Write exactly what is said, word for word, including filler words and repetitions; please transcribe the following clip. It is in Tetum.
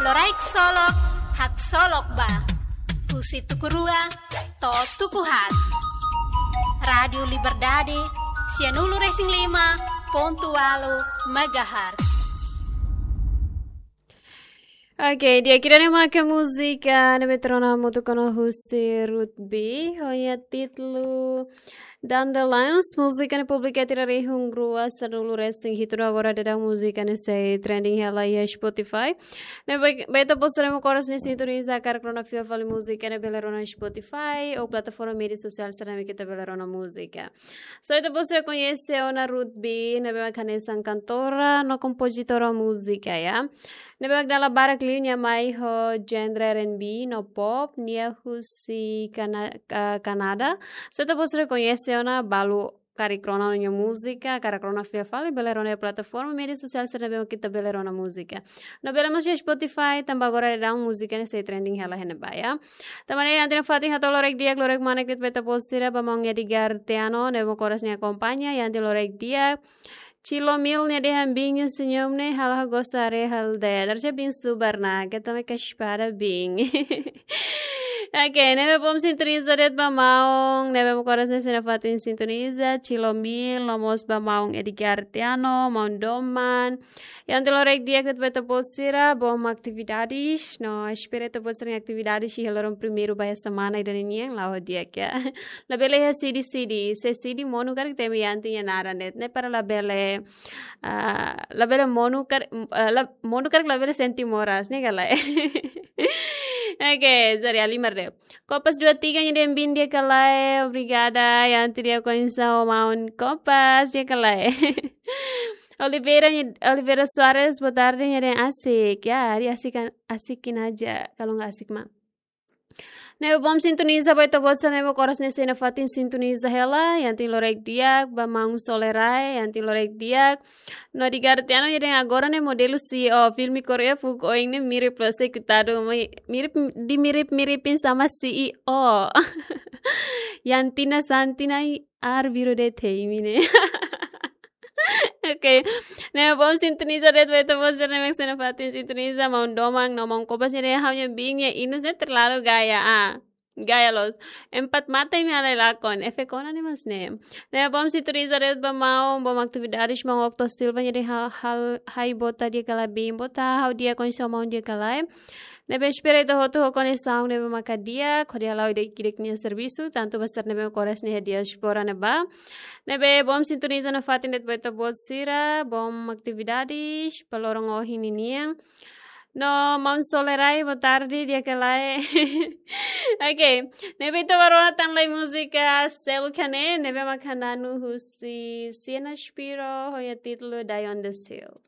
Loraik Solok, Haksolok Ba. Husi tuku rua to'o tuku haat. Rádiu Liberdade, sianulu-resin-lima pontu ualu megahertz. Oke, di'ak, ida-ne'e maka múzika ne'ebé ita rona hamutuk ona husi Ruth B, ho nia títulu Dandelions. Múzika ne'e publika iha tinan rihun rua sanulu-resin-hitu, no agora daudaun múzika ne'e sei trending hela iha Spotify. Ne'ebé, ba ita-boot sira ne'ebé mak oras ne'e sintoniza, hakarak rona fila fali múzika ne'e bele rona Spotify ou plataforma média sosiál sira ne'ebé mak ita bele rona múzika. So ita-boot sira koñese ona Ruth B, ne'ebé mak hanesan kantora no kompozitora múzika, ya. Ne'ebé mak dala barak liu nia mai ho genre R and B no pop, nia husi Kana-, ah, Kanadá. So ita-boot sira koñese ona, balu karik rona nia múzika, hakarak rona fila fali, bele rona iha plataforma média sosiál sira ne'ebé mak ita bele rona múzika. No bele mós iha Spotify, tanba agora daudaun múzika ne'e sei trending hela iha ne'ebá, ya. Tanba ne'e, iha ita-nia fatin hato'o loraik di'ak, loraik manek de'it ba ita-boot sira, ba maun Edgar Teano, ne'ebé mak oras ne'e akompaña, iha ita-nia loraik di'ak. Chilo Mil nia dehan: "Biin nia senyum ne'e halo ha'u gosta haree halo de'it." Haree biin subar ona, keta mai ka espada biin. Oke, ne'ebé bom sintoniza de'it ba maun ne'ebé mak oras ne'e sei nafatin sintoniza, Chilo Mil, no mós ba maun Edgar Teano, maun doman. Iha ita-nia loraik di'ak de'it ba ita-boot sira, bom atividades, no espera ita-boot sira-nia atividades iha loron primeiru ba iha semana ida-ne'e nian, la'o di'ak, ya. Labele iha sidi-sidi, se sidi monu karik temi iha ita-nia naran de'it, ne'e para labele, ah, labele monu kar-, ah, la-, monu karik labele sente moras, ne'e ka lae. Oke, sorry, halimar de'it. Kopas dua tiga nia dehan biin di'ak ka lae, obrigada, iha ita-nia kondisaun maun Kopas, di'ak ka lae. Oliveira, Oliveira Soares, boa tarde, nia dehan asik. Ya, ari asik kan, asik kin aja, kalau nggak asik mah. Ne'ebé bom sintoniza ba ita-boot sira ne'ebé mak oras ne'e sei nafatin sintoniza hela, iha ita-nia loraik di'ak ba maun Solerai, iha ita-nia loraik di'ak. No Edgar Teano nia dehan agora ne'e modelu C E O, filme Korea fuuk oin ne'e mirip loos, sei kutadu, mi-, mirip, di mirip-miripin sama C E O. Yantina Santina i ar biru de'it hei mine. Oke. Ne'ebé bom sintoniza de'it ba ita-boot sira ne'ebé mak sei nafatin sintoniza, maun doman no maun Kopas nia dehan ha'u-nia biin nia inus ne'e terlalu gaya, ah. Gaya loos. Empat mata imi halai lakon. Efek ona ne'e mós ne'e. Ne'ebé bom sintoniza de'it ba maun, bom atividades, maun Octo Silva nia dehan ha-, hal-, hai boot di'ak ka lae biin, boot, ha'u di'ak, kondisaun maun di'ak ka lae. Ne'ebé espera ita hotu ho kondisaun ne'ebé maka di'ak, hodi hala'o ida-idak nia servisu, tantu ba sira ne'ebé mak oras ne'e iha diáspora ne'ebá. Ne'ebé bom sintoniza nafatin de'it ba ita-boot sira, bom atividades ba loron ohin ninian. No maun Solerai, boa tarde, di'ak ka lae. Oke, ne'ebé ita bá rona tan lai múzika seluk ne'e, ne'ebé mak hananu husi Siena Shapiro, ho nia títulu Die on the Hill.